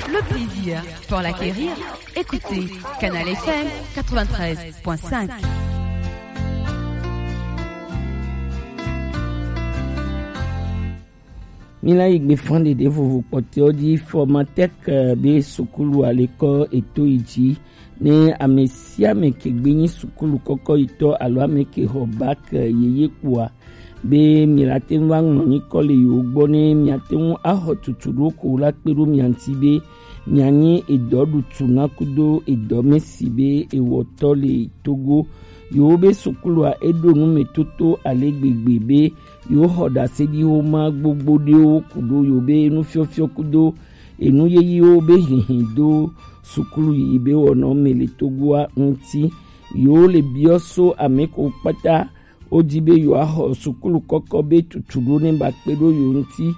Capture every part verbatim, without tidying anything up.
Le plaisir pour l'acquérir, écoutez Canal F M quatre-vingt-treize point cinq. Mila yi gbe fan ɖeɖe vovo kpɔtɔ ji Formatec, eh, be sukulu alekɔ eto yi ji ne ame sia ame ke gbe nyi sukulu kɔkɔ yi tɔ alo ame ke xɔ bac, eh, yeye kpoa, be mi la te ŋu va ŋlɔ nyikɔ le yewo gbɔ ne miate ŋu axɔ tutu ɖo ko la kpe ɖo mia ŋuti be mianyi edɔɖutu na kudo edɔmesi be ewɔtɔ le Togo. Yewo be sukulua eɖo nu me toto ale gbegbe be yewo xɔ ɖaseɖiwo ma gbogbo ɖewo kudo yewo be nufiɔfiɔ kudo enu yeyiwo be hihi do sukulu yiyi be wɔnɔ me le Togoa ŋuti. Yewo le biɔ so ame ko kpata wodi be yewoaxɔ sukulu kɔkɔ be tutu ɖo ne ba kpe ɖo yewo ŋuti.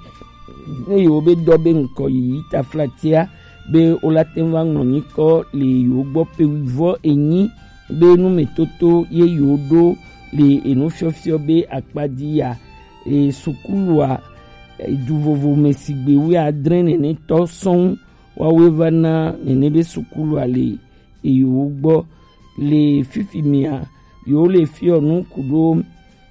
Ne yewo be dɔ be ŋkɔ yiyi taflatia be wola te ŋu va ŋlɔ nyikɔ le yewo gbɔ pe wivɔ enyi be numetoto ye yewo ɖo le enufiɔfiɔ be akpa dzi ya. E sukulua, e, du vovo me sigbe wuiadre nenetɔ sɔŋ wawoe va na nene be sukulua le yewo gbɔ. Le fifi mea, yewo le fiɔ nu kudo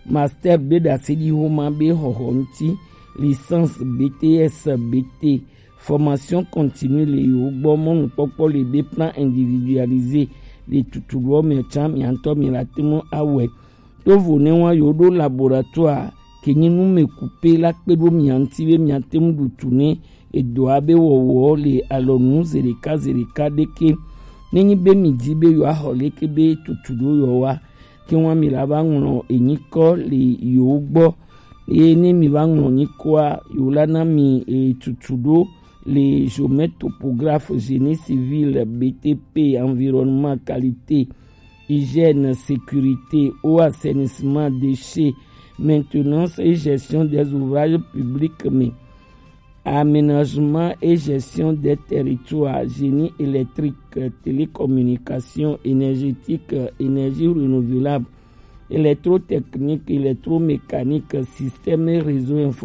master be ɖaseɖi homa be xɔxɔ ŋuti, licence, B T S, B T, formation continue le yewo gbɔ. Mɔnukpɔkpɔ le be plan individualisé le tutu ɖoɔ me tsã mia ŋutɔ mi la te ŋu awɔe. Tovo ne wa yewo ɖo laboratoire ke nyi nu me kupe la kpe ɖo mia ŋuti be mia te ŋu ɖu tu ne edɔa be wɔwɔ le alɔnu zeɖeka zeɖeka ɖeke. Ne nyi be mi di be yewoaxɔ leke be tutu ɖo yewoa, ke wa mi la va ŋlɔ enyikɔ le yewo gbɔ. Eye ne mi va ŋlɔ nyikɔa, yewo la na mi e tutu ɖo le géomètre topographe, génie civil, B T P, environnement, qualité, hygiène, sécurité, eau, assainissement, déchets, maintenance et gestion des ouvrages publics, mais aménagement et gestion des territoires, génie électrique, télécommunication, énergétique, énergie renouvelable, électrotechnique, électromécanique, système et réseau